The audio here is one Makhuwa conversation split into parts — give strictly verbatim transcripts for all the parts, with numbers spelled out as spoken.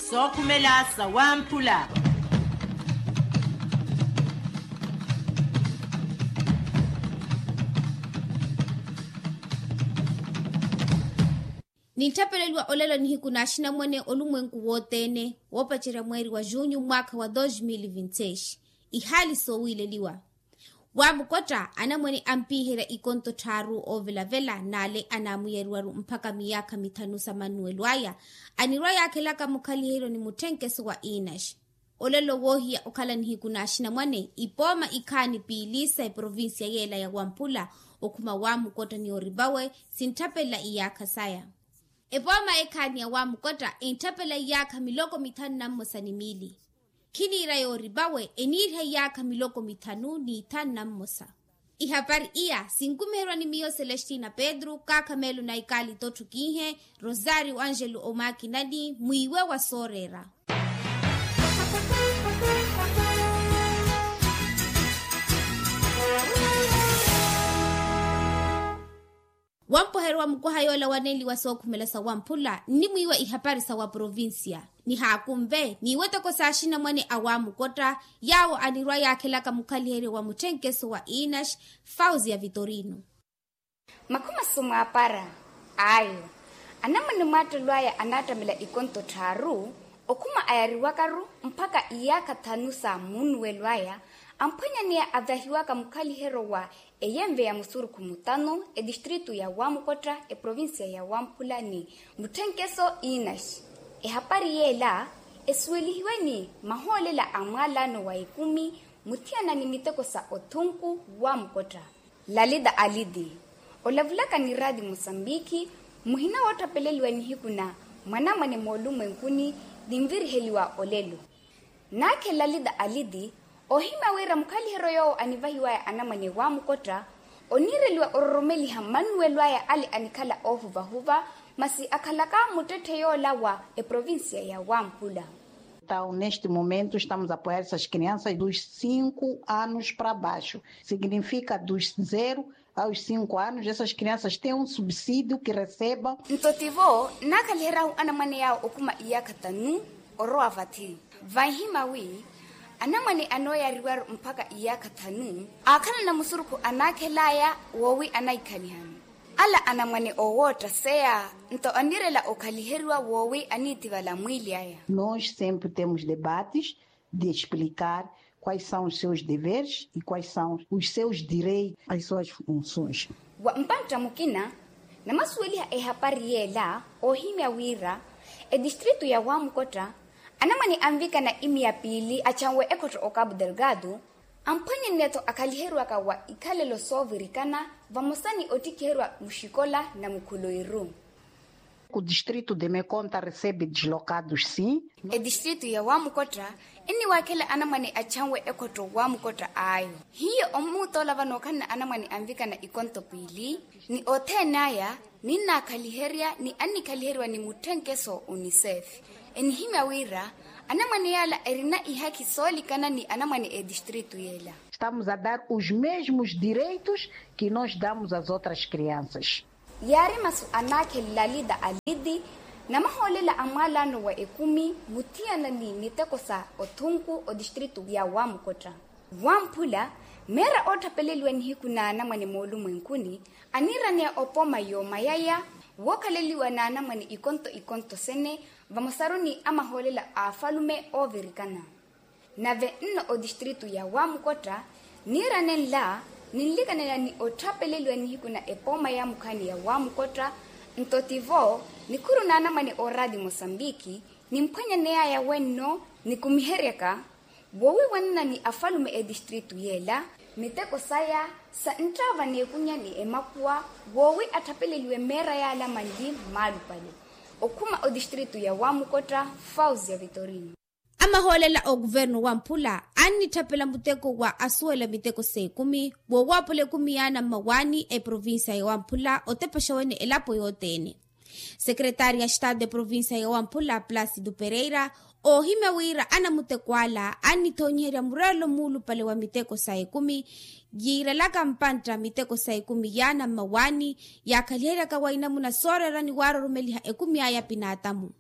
Sookhumela sa wamphula. Nintthapeleliwa olelo nihiku n'axinamwane olumwenku wothene woopacerya mweeri wa junyu mwaakha wa dos mil vinti seis. Ihaali soowiileliwa. Wamukwatta anamwane ampiiherya ikonto tthaaru oovelavela n'ale anaamuyariwaru mpakha miyaakha mithanu sa mannuwelo aya anirwa yaakhelaka mukhaliheryo ni mutthenkeso wa inaxi. Olelo woohiya okhala nihiku n'axinamwane ipooma ikhaani piili sa eprovincia yeela ya wamphula okhuma wamukwatta ni orivawe sintthapela iyaakha saya. Epooma ekhaani ya wamukwatta entthapela iyaakha miloko mithanu na mmosa ni miili. Khiniira yoorivawe eniiriha iyaakha miloko mithanu n'ithanu na mmosa. Ihapari iya sinkumiherwa ni miyo celestina pedro kaakha meelo na ikaali tottho kiihe. Rosario angelo omakinani mwiiwe wa sooreera. Wampoherwa mukwaha yoola wanenliwa sookhumela sa wamphula nnimwiiwa ihapari sa waprovincia. Nihaakunve n'iweteko s'axinamwane a wamukwatta yaawo anirwa yaakhelaka mukhaliheryo wa mutthenkeso wa inaxi. Fauzi ya vitorino. Makhuma sumwaapara ayo anamwane mwaattelo aya anaattamela ikonto tthaaru okhuma ayariwakaru mpakha iyaakha thanu sa munnuwelo aya amphwanyaneya avahiwaka mukhaliheryo wa eyenve ya musurukhu mutano etistritu ya wamukwatta eprovincia ya wamphula ni mutthenkeso inaxi. Ehapari yeela esuwelihiwe ni mahoolela a mwaalano wa ekumi muthiyana ni miteko sa othunku wamukwatta. Lalita aliti olavulaka ni raati mosambiki muhina woottapeleliwa nihiku na mwanamwane moolumwenkuni ninviriheliwa olelo. Naakhe lalita aliti oohimya wira mukhaliheryo yoowo anivahiwaya anamwane wamukwatta oniireliwa ororomeliha mannuwelo aya ale anikhala oohuvahuva masi akhalaka muttetthe yoola wa eprovincia ya wamphula. Entaw neste momento estamos a apoiar essas crianças dos cinco anos para baixo, significa dos zero aos cinco anos essas crianças têm um subsídio que recebam. Nto tivo naakhaliheryahu anamwane yaawo okhuma iyaakha thanu orowa vathi. Vanhima wi anamwane anooyariwaru mpakha iyaakha thanu aakhalana musurukhu anaakhelaya woowi anaikhaliha-ni. Ala anamwane oowoottaseya nto anirela okhaliheriwa woowi aniithivala mwiili aya. Nós sempre temos debates de explicar quais são os seus deveres e quais são os seus direitos as suas funções. Wa mpantta mukina namasuweliha ehapari yeela oohimya wira etistritu ya wamukotta anamwane anvikana imiya piili achanwe ekhotto okapu delgado amphwanyanneya-tho akhaliheriwaka wa ikhalelo soovirikana vamosa ni ottikhiheriwa muxikola na mukhuloiru. Ku distrito de mekonta recebe dislocados sim. Etistrito ya wamukotta enniwaakhela anamwane achanwe ekhotto wamukotta ayo hiyo omuutoola vano okhanna anamwane anvikana ikonto piili ni othene aya ninnaakhaliherya ni annikhaliheryiwa ni mutthenkeso unicef. Enihimya wira anamwane yaala erina ihakhi soolikana ni anamwane etistrito yeela. Estamos a dar os mesmos direitos que nós damos as outras crianças. Yaari masu anaakhela lalita aliti namahoolela a mwaalano wa ekumi muthiyana ni miteko sa othunku otistrito ya wamukotta. Wamphula meera ootthapeleliwa nihiku n'anamwane moolumwenkuni aniiraneya opooma yoomayaya wookhaleliwa n'anamwane ikonto ikonto sene vamosaru ni amahoolela a afalume oovirikana. Nave nno otistrito ya wamukotta niirane nla ninlikanela ni otthapeleliwa nihiku na epooma ya mukhaani ya wamukotta. Nto tivo nikhuru n'anamwane ooraati mosambiki nimphwanyaneyaya wenno nikumiheryaka woowiiwanana ni afalume etistrito yeela miteko saya sa nttaava n'ekunya ni emakuwa woowi atthapeleliwe meera yaala manli mmaalupale. Okhuma otistrito ya wamukotta fauzi ya vitorino. Amahoolela a okuvernu wamphula annitthapela muteko wa asuwela miteko s'ekumi woowaapola ekumi yaana mmawaani eprovincia ya wamphula otepexa wene elapo yothene. Sekretaari ya estado eprovincia ya wamphula placido pereira oohimya wira anamuteko ala annithoonyiherya mureelo muulupale wa miteko sa ekumi yiirelaka mpantta miteko sa ekumi yaana mmawaani yaakhaliheryaka wa inamuna sooreera ni waaroromeliha ekumi aya pinaatamu.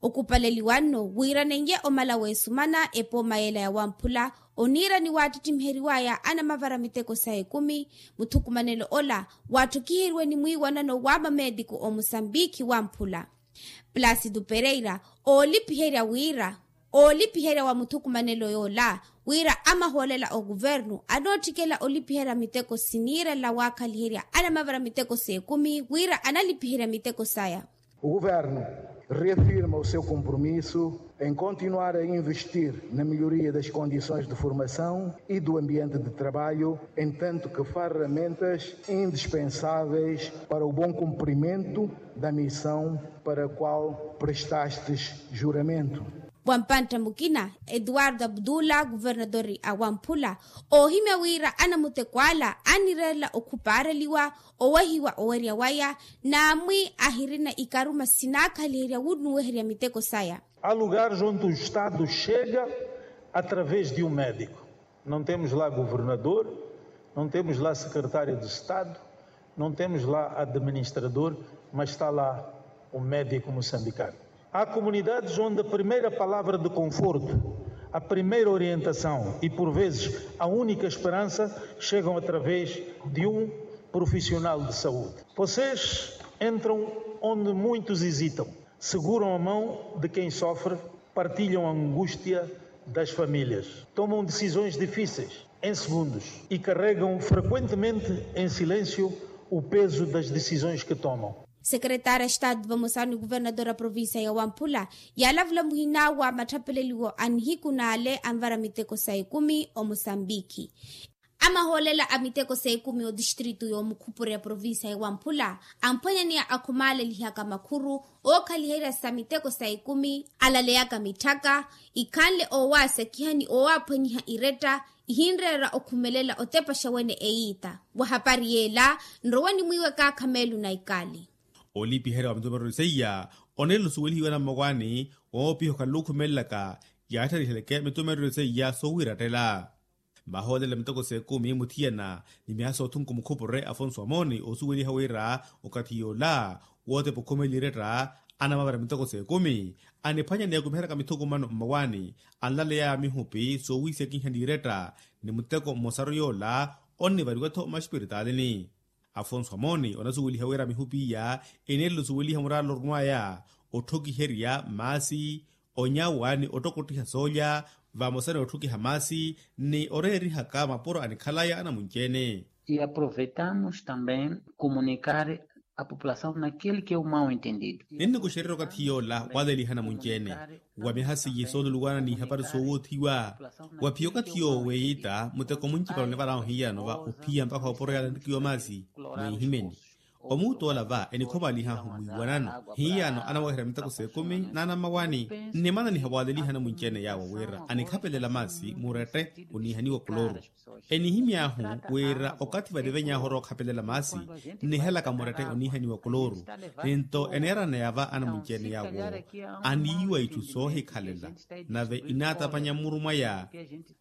Okupaleliwa nno wira nenye omala w'esumana epooma yela ya wamphula oniira ni waattittimiheryiwaya anamavara miteko sa ekumi. Muthukumanelo ola waatthokiheriwe ni mwiiwanano wa mameetiku omosambikhi wamphula. Placido pereira oolipiherya wira oolipiherya wa muthukumanelo yoola wira amahoolela okuvernu anootthikela olipiherya miteko siniirela waakhaliherya anamavara miteko s'ekumi wira analipiherya miteko saya. O governo reafirma o seu compromisso em continuar a investir na melhoria das condições de formação e do ambiente de trabalho entanto que farramentas indispensáveis para o bom cumprimento da missão para a qual prestastes juramento. Wa mpantta mukina eduardo abdullah kuvernadori a wamphula oohimya wira anamuteko ala annireerela okhupaareliwa owehiwa owerya waya n'amwi ahirina ikaruma sinaakhaliherya wunnuweherya miteko saya. Há lugares onde o estado chega através de um médico. Não temos lá governador, não temos lá secretário de estado, não temos lá administrador, mas está lá o médico moçambicano. Há comunidades onde a primeira palavra de conforto, a primeira orientação e por vezes a única esperança chegam através de um profissional de saúde. Vocês entram onde muitos hesitam, seguram a mão de quem sofre, partilham a angústia das famílias, tomam decisões difíceis em segundos e carregam frequentemente em silêncio o peso das decisões que tomam. Sekeretária estado vamosa ni kuvernadora provincia ya wamphula yaalavula muhina wa matthapeleliwo a nihiku n'ale anvara miteko sa ekumi omosambikhi. Amahoolela a miteko sa ekumi otistritu y'omukhupure ya provincia ya wamphula amphwanyaneya akhumaalelihaka makhuru ookhaliherya sa miteko sa ekumi alaleyaka mitthaka ikhanle oowaasekiha ni oowaaphwanyiha iretta ihinreera okhumelela otepaxa wene eyiita. Wa hapari yeela nrowe ni mwiiwe kaakha meelu na ikali. Olipiherya wa mitumereryo seiya oneela osuwelihiwa na mmawaani woopiha okhala okhumelelaka yaattariheleke mitumereryo seiya soowiirattela. Mahoolela miteko s'ekumi muthiyana ni miyaha soothunku mukhupure afonso amoni oosuweliha wira okathi yoola wootepa okhumelela iretta anamavara miteko s'ekumi aniphwanyaneya okumiheryaka mithukumano mmawaani anlaleyaya mihupi soowiisekiha n'iretta ni muteko mmosaru yoola onnivariwa-tho mmaxipiritalini. Afonso amoni onasuweliha wira mihupi iya eneerela osuweliha muraala orunwaya otthokiherya maasi onyawa ni ottokottiha soolya vamosa ni otthokiha maasi ni oreerihaka mapuro anikhalaya anamunci-ene. E aproveitamos também comunicar a população naquele que é o mau entendido. Ninnikuxererya okathi yoola waleliha anamunci-ene wa miha seiye sooluluwana n'ihapari soowoothiwa wa phiya okathi yoowo weeyitta muteko muncipala onivarahu hiyano va ophiya mpakha opuro yaala nrikiwa maasi n'ihimeni. Omuutt'ola va enikhomaalihahu mwiiwanano hiyano anaweherya miteko s'ekumi n'anammawaani. Nnimananiha waaleliha anamunci-ene yaawo wira anikhapelela maasi murette oniihaniwa koloru. Enihimy'ahu wira okathi vaniveny'ahu orwa okhapelela maasi nnihelaka murette oniihaniwa koloru. Ninto eneeraneya va anamunci-ene yaawo aniiwa itthu soohikhalela nave inaatapanya mmuru mwaya.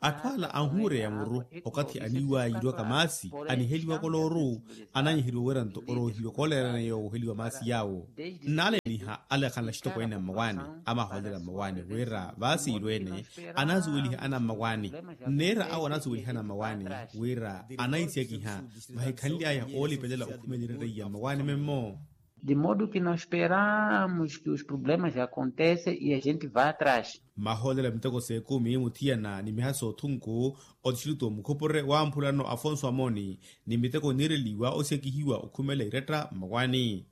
Atthu ala anhuureya muru okathi aniiwa yiirwaka maasi aniheliwa kolooru ananyiheriwa wira nto oroohiwa kooleerana yoowo oheliwa maasi yaawo. Nnaaleniha alekhanla axitokweene a mmawaani amahoolela mmawaani wira vaasiirweene anaasuweliha ana mmawaani. Nneera awo anaasuweliha ana mmawaani wira anaisekiha vahikhanly'aya oolipelela okhumelela iretta iya mmawaani memmo. De modo que nós esperamos que os problemas acontecem e a gente vá atrás. Mahoolela miteko s'ekumi muthiyana ni miha soothunku otixilutu omukhupure wamphulano afonso amoni ni miteko oniireliwa osekihiwa okhumela iretta mmawaani.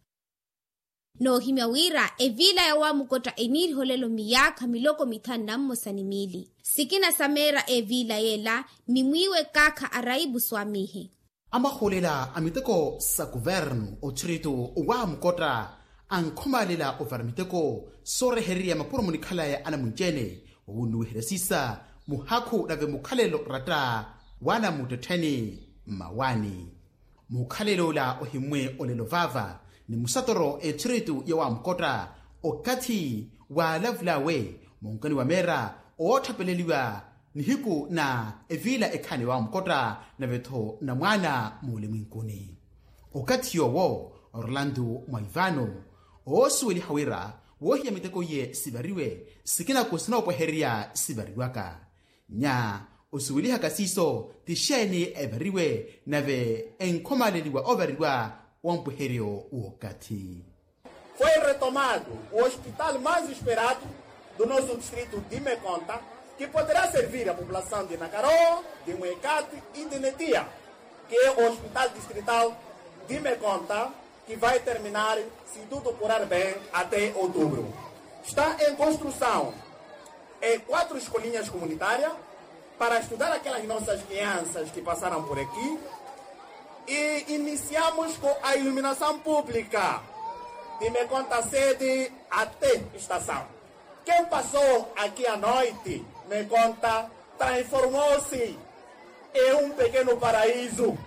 Noohimya wira eviila ya wamukotta eniiriha olelo miyaakha miloko mithanu na mmosa ni miili sikina sa meera eviila yeela ni mwiiwe kaakha araibu swamihe. Amahoolela a miteko sa kuvernu othiritu wa mukotta ankhomaalela ovara miteko soorehererya mapuro munikhalaya anamunci-ene wowunnuwiherya siisa muhakhu nave mukhalelo oratta w'anamuttettheni mmawaani. Mukhalelo ola ohimmwe olelo vaava ni musatoro ethiritu ya wamukotta okathi waalavul'awe munkani wa meera ootthapeleliwa nihiku na eviila ekhaani wa mukotta nave-tho na mwaana muulimwinkuni. Okathi yoowo orlando mwaivano oosuweliha wira Woohiya miteko iye sivariwe, sikina-ku sinoopwehererya sivariwaka. Nya osuwelihaka siiso ti xeeni evariwe nave enkhomaleliwa ovariwa, wompweheryo w'okathi. Foi retomado o hospital mais esperado do nosso distrito de Mekonta, que poderá servir a população de Nakaroo, de Mwekati e de Netia, que é o hospital distrital de Mekonta, que vai terminar, se tudo correr bem, até outubro. Está em construção, é, quatro escolinhas comunitárias para estudar aquelas nossas crianças que passaram por aqui. E iniciamos com a iluminação pública de Mekonta sede até estação. Quem passou aqui à noite, Mekonta transformou-se em um pequeno paraíso.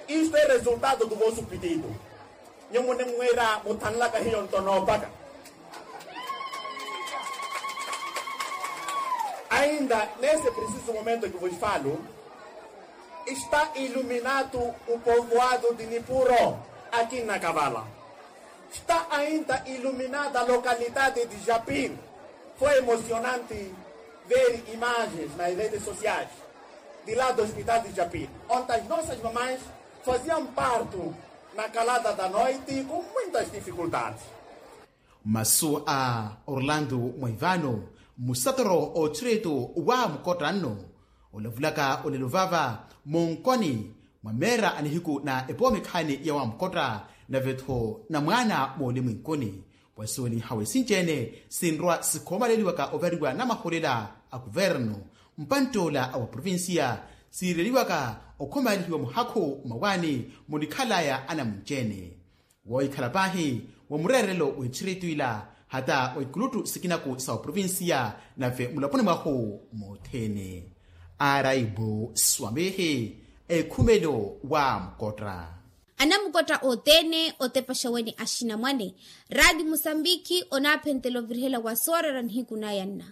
Isto é resultado do vosso pedido. Nyo munimwira muthanlaka hiyo nto noopaka. Ainda nesse preciso momento que vos falo, está iluminado o povoado de Nipuro, aqui na Kavala. Está ainda iluminada a localidade de Japir. Foi emocionante ver imagens nas redes sociais de lá do hospital de Japir, onde as nossas mamães faziam parto na calada da noite com muitas dificuldades. Masu a Orlando Mwaivano, musatoro otthiretu wa Mukotta nno, olavulaka olelo vava munkoni mwa meera a nihiku na epoomikhaani ya wa Mukotta, nave-tho na mwaana moolimwinkuni. Wasuweliha wi sinci-ene sinrwa sikhoomaleliwaka ovariwa na maholela a kuvernu, mpantt'ola a wa provincia, siireliwaka okhomalihiwa muhakhu mmawaani munikhalaya anamunci-ene. Woohikhala paahi wa mureerelo w'etthiretu ila, hata wa ikuluttu sikinaku sa oprovincia, nave mulaponi mwahu mothene. Araibu swamihi, ekhumelo wa Mukotta. Anamukotta othene otepaxa weni axinamwane. Raati musambikhi onaaphentela ovirihela wa soorera nihiku naya nna.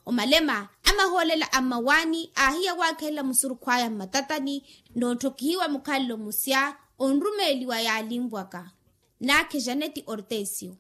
Omalema a mahoolela a mmawaani aahiya waakhelela musurukhu aya mmatatani, nootthokihiwa mukhalelo musya onrumeeliwa yaalinvwaka. Naakhe janeti ortesio.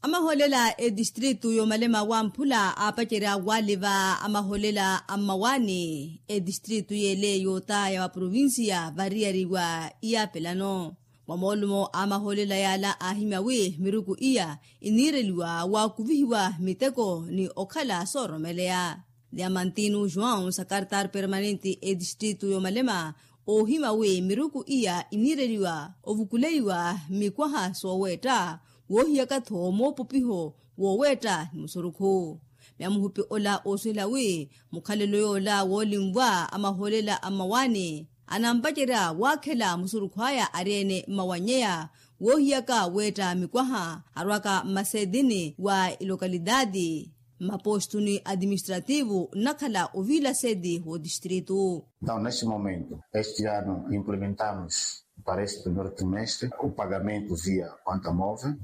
A mahoolela a etistritu y'omalema wamphula aapacerya waaliva a mahoolela a mmawaani etistritu y'ele yootaya wa provincia variyariwa iyaapelano. Mwa moolumo a mahoolela yaala aahimya wi miruku iya iniireliwa waakuvihiwa miteko ni okhala sooromeleya. Diamantino joão sakartar permanente etistritu y'omalema oohimya wi miruku iya iniireliwa ovukuleiwa mikwaha sooweetta woohiyaka-tho moopopiho wooweetta ni musurukhu. Myamuhupi ola oosuhela wi mukhalelo yoola woolinvwa a mahoolela a mmawaani anampacerya waakhela musurukhu aya ari-ene mmawanyeya woohiyaka weetta mikwaha arwaka mmaseedini wa ilokalitaati mmapoostuni atiministrativu nnakhala oviila seedi w'otistritu. Entaw neste momento este ano implementamos para este primeiro trimestre o pagamento via conta móvel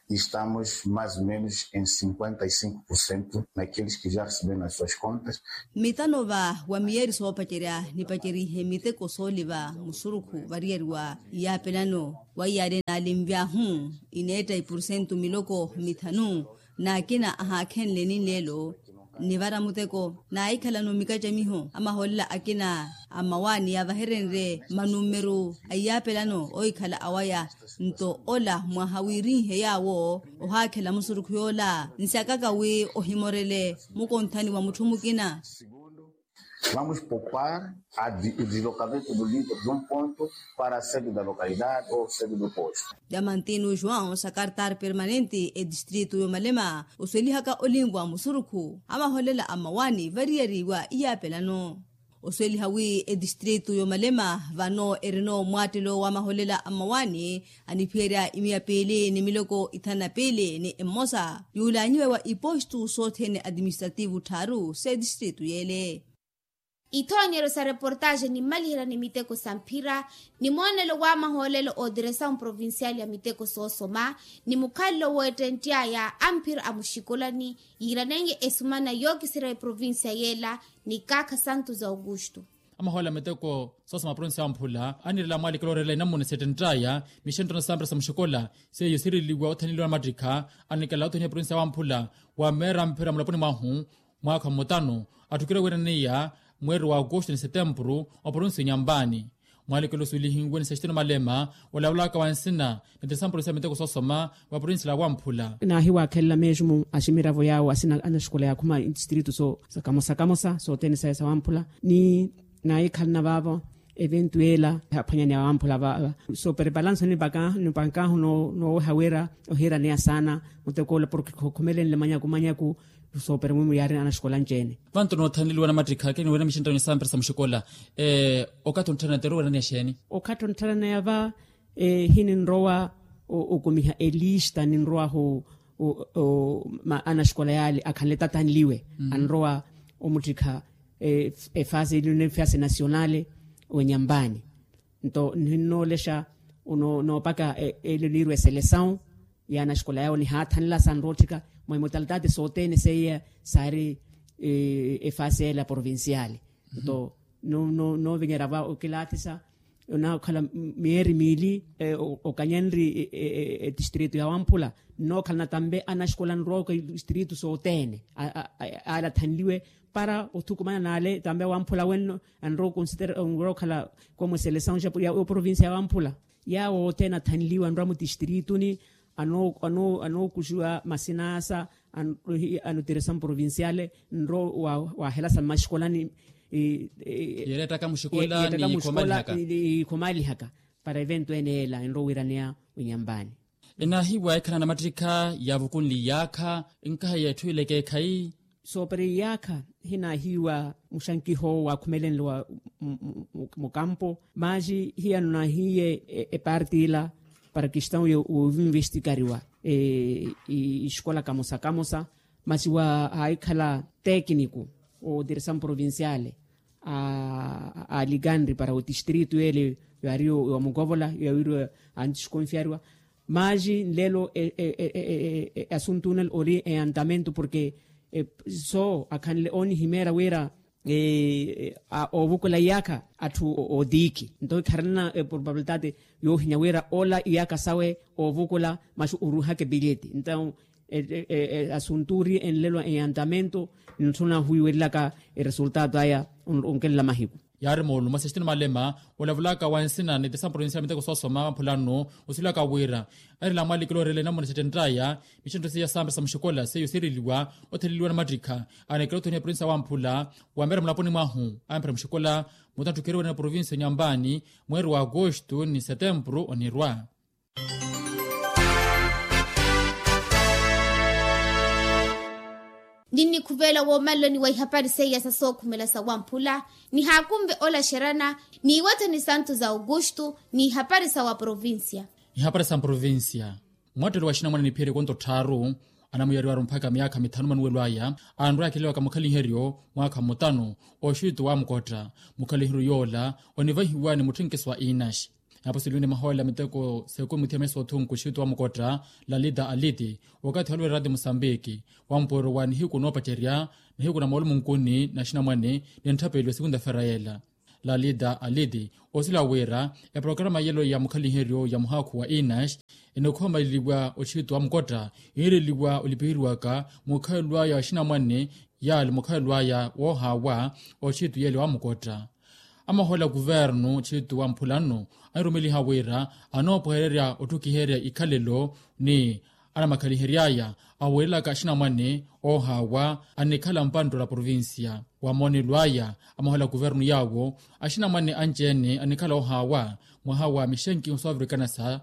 e estamos mais ou menos em cinquenta e cinco por cento naqueles que já receberam as suas contas. Mitano va wa miyeeri soopacerya nipacerihe miteko sooliva musurukhu variyariwa iyaapelano wa iyaari naalinvyahu ineetta ipursentu miloko mithanu. N'akina ahaakhenle ninleelo nivara muteko naahikhalano mikacamiho a mahoolela akina a mmawaani yaavaherenrye manumeru a iyaapelano oohikhala awaya. Nto ola mwaha wiirinhe yaawo ohaakhela musurukhu yoola nsyakaka wi ohimorele mukonthani wa mutthu mukina. Vamos poupar a di- o deslocamento do livro de um ponto para a sede da localidade ou sede do posto. Diamantino joão sakartar permanente etistritu y'omalema osuwelihaka olinvwa musurukhu a mahoolela a mmawaani variyari wa iyaapelano. Osuweliha wi etistritu y'omalema vano erino mwaattelo wa mahoolela a mmawaani aniphiyerya imiya piili ni miloko ithanu na piili ni emosa yuulanyiwe wa ipostu sothene atiministrativu tthaaru s'etistritu y'ele. Ithoonyeryo sa reportaxe nimmaliherya ni miteko sa mphira ni moonelo wa mahoolelo ootiresa mprovincial ya miteko soosoma ni mukhalelo w'ettentti aya a mphira a muxikolani yiiranenye esumana yookiserya eprovincia y'ela ni kaakha santos augusto. Amahoolela miteko soosoma provinsi ya wamphula anirela mwalikelo orela inamuna setenttaya mixenttano sampira sa muxikola seiyo siriliwa othaneliwa na mattikha. Anikela othoniha provinsi ya wamphula wa meera mphira mulaponi mwahu mwaakha mmutano atthukire wiiraniya mweeri wa agosto ni setempuru oprovinsi ya onyampani. Mwalikelo osuwelihiwe ni sextino malema olavolaka wa nsina ni tisampuru sa miteko soosoma va provinsi la wamphula. Naahiwaakhelela meesumu a ximiravo yaawo asina anaxikola yaakhuma itistritu so sa kamosa kamosa sothene saya sa wamphula ni naahikhalana vaavo eventu yeela aphwanyani a wamphula va. Sooperepalansoni nipakahu nooweha wira ohiiraneya saana mutekoola porke khokhumelenle manyaku manyaku. Soopera mwimu yaari anaxikola anci-ene. Vantu noothaneliwa na mattikha keni wira mixinttano ni sampira sa muxikola okathi onttharana teru wira ni axeeni? Okathi onttharana yava hininrowa okumiha elista ninrowahu anaxikola yaale akhanle tathanliwe anrowa omuttikha efase efase nasionale. Onyampani nto nihinnoolexa noopaka ele niirwa eselesawu ya anaxikola yawo nihaathanela sanrootthika mwa imotalitate sothene seiya saari efase ela provinciale. Nto noovinyerya va okilaathisa onaakhala miyeeri miili okanyenri etistritu ya wamphula nnookhalana tambe anaxikola anrowa oka itistritu sothene ale athanliwe para othukumana n'ale tambe wamphula wenno anrowa okhala komu eselesawu ya oprovincia ya wamphula. Yaawo othene athanliwe anrwa mutistirituni anookuxiwa masinasa anotiresa mprovinciale nro wahelasa mmaxikolani yeerettaka muxikola ni ikhumalihaka para evento ene yeela enro wiiraneya onyampani. Enaahiwa ekhalana mattikha yaavukunle iyaakha nkaha yeetthu ile ekeekhayi. Soopera iyaakha hinaahiwa muxankiho waakhumelenle wa mukampo masi hiyano naahiye eparti ila para kistawu yoovinvestikariwa ixikola kamosa kamosa masi waahikhala tekiniku otiresamu provinciale alikanri para otistritu ele yaari yomukovola yawiriwa antiskonfiariwa. Masi nlelo asuntu nle ori eyantamento porke so akhanle oonihimeera wira oovukula iyaakha atthu ootiikhi nto ikharanana probabilitate yoohinya wira ola iyaakha sawe oovukula masi oruuhaka epileti nto asuntu ori enlelo eyantamento ntthu naahuwiweryelaka eresultato aya onkelela mahiku. Yaari moolumo sextino malema olavulaka wa nsina ni tisampuro nsina miteko soosoma vamphulano osilaka wira erela mwalikelo orela enamuna settenttaya mixentto seiya sampira sa muxikola seiyo siireliwa otheleliwa na mattikha anekela othoniha provinsi ya wamphula wa meera mulaponi mwahu amphira muxikola mutantthukeriwa na provinsi ya onyampani mweeri wa agosto ni setempuru onirwa. Ninnikhuvela woomaleloni wa ihapari seiya sa sookhumela sa wamphula nihaakunve olaxerana n'iwetha ni santu za augustu n'ihapari sa wa provincia. Ihapari sa mprovincia mwattelo wa xinamwane niphiyeryeko nto tthaaru anamuyariwaru mpakha myaakha mithanu manuwelo aya anrwa akhelewaka mukhaliheryo mwaakha mmutano oxittu wa mukotta mukhaliheryo yoola onivahiwa ni mutthenkeso wa inaxi. Naapo siluwini mahoolela miteko seekumi muthiya meso othunku oxittu wa mukotta lalita aliti wakathi oluvera rati musambiki wampooro wa nihiku noopacerya nihiku na moolumo nkuni na xinamwane ni ntthapeli wa sekunta fera yeela. Lalita aliti osila wira eprograma yelo ya mukhaliheryo ya muhaakhu wa inaxi enikhoomaleliwa oxittu wa mukotta yiireliwa olipiheriwaka mukhalelo aya wa xinamwane yaali mukhalelo aya woohaawa oxittu yeele wa mukotta. Amahoolela kuvernu oxittu wa mphula nno anirumeliha wira anoopwehererya otthukiherya ikhalelo ni anamakhaliheryaya awiirelaka axinamwane oohaawa anikhala mpanttolo a provincia wa moonelo aya amahoolela kuvernu yaawo axinamwane anci-ene anikhala oohaawa mwaha wa mixenkiho soovirikana sa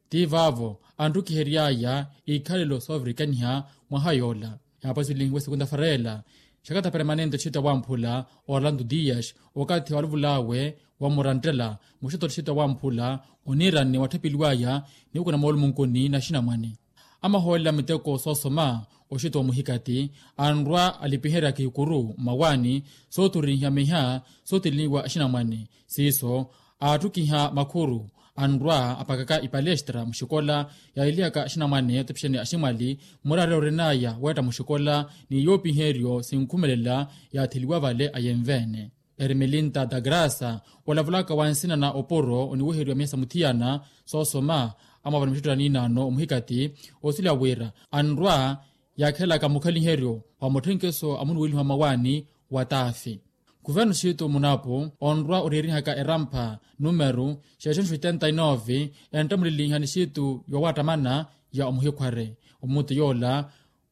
ti vaavo anttukiheryaya ikhalelo soovirikaniha mwaha yoola. Yaapasilihiwe sekunta fera yeela xakata permanente oxittu wa wamphula orlando dias okathi waluvul'awe wammuranttela muxitto oxittu wa wamphula oniirani watthapeliwaya niwukuna moolumunkuni na axinamwane. Amahoolela miteko soosoma oxitto wa muhikati anrwa alipiherya kiikuru mmawaani sooturihiya miha sooteleniwa axinamwane siiso aattukiha makhuru anrwa apakaka ipalestra muxikola yaahilihaka axinamwane otepixani aximwali mmuraarya orin'aya weetta muxikola ni yoopiheryo sinkhumelela yaatheliwa vale ayenve-ene. Ermelinta da grasa, olavulaka wa nsina na opuro oniwiheriwa miya sa muthiyana soosoma, amwavana mixitto ya niinaano omuhikati, osuleya wira anrwa yaakhelaka mukhaliheryo wa mutthenkeso a munuweliho a mawaani wa taafi. Kuvernu xiitu munapu onrwa oreerihaka erampha numeru xeexonxo oitenta e nove, enttamulilinha ni xiitu yoowattamana ya omuhikhware. Omutu yoola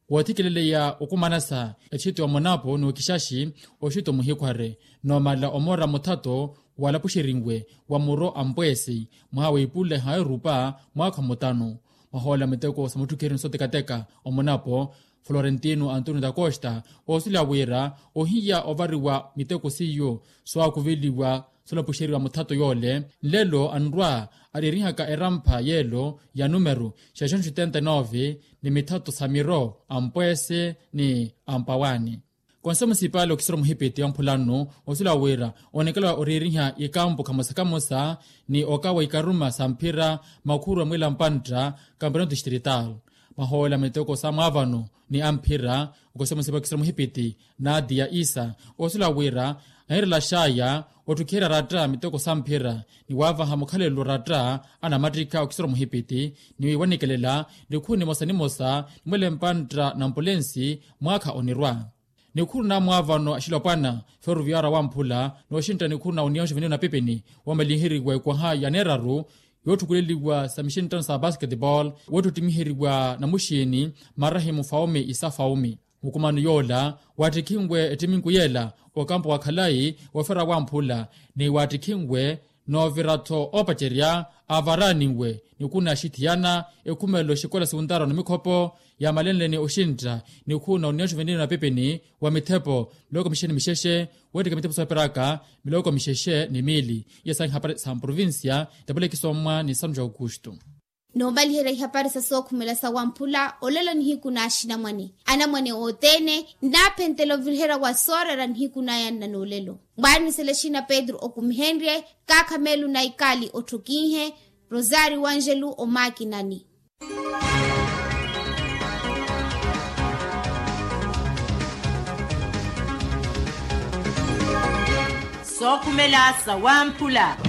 woothikileleya okumanasa etxiitu ya omunapu n'okixaxi oxiitu omuhikhware, n'omala omoora muthato walapuxerinwe wa muro a mpweesi mwaha wa ipuleha erupa mwaakha mutanu. Mwahoola miteko sa mutthukiheryo ni sotekateka omunapo florentino antonio da costa, oosuleya wira ohiya ovariwa miteko seiyo soowaakuveliwa soolapuxeriwa muthato yoole. Nlelo anrwa areerihaka erampha yeelo ya numeru xeexonxo oitenta e nove ni mithato sa miro a mpweese ni a mpawaani. Konselho munisipali okisiro muhipiti wa mphulano osuleya wira onekela oreeriha ikampu khamosa khamosa ni okawa ikaruma sa mphira makhuru a mwila mpantta kampeonato distrital. Mahoola miteko sa mwaavano ni a mphira okisiro muhipiti nadia isa osuleya wira anirela xaaya otthukiherya ratta miteko sa mphira ni waavaha mukhalelo ratta anamattikha okisiro muhipiti ni wanikelela nikhuru nimosa nimosa ni mwila mpantta na mpulensi mwaakha onirwa. Nikhuru na mwaavano axilopwana ferroviaria wamphula nooxintta nikhuru na union juvenil na pipini woomalinheriwa ekwaha ya neeraru yootthukuleliwa sa mixinttano sa basketball woottittimiheryiwa na muxiini marahimu faumi isa faumi. Mukumano yoola waattikhinwe ettiminku yeela okampo wa khalayi wofera wamphula ni waattikhinwe noovira-tho oopacerya aavaraaniwe nikhuru na axithiyana ekhumelo xikola siwuntaaro na mikhopo yaamalenleni oxintta nikhuru na union juvenil na pipini wa mithepo miloko mixexe ni mixexe weettika mithepo sooperaka miloko mixexe ni miili. Iya sahi hapari sa mprovincia tapulekisomwa ni sanu ja aukustu. Noomaliherya ihapari sa sookhumela sa wamphula olelo nihiku na axinamwane anamwane othene nnaaphentela oviriherya wa sooreera nihiku naya nna noolelo. Mwaaniselexina petru okumihenrye kaakha meelu na ikali otthokinhe rosario angelu omaakinani. Sookhumela sa wamphula.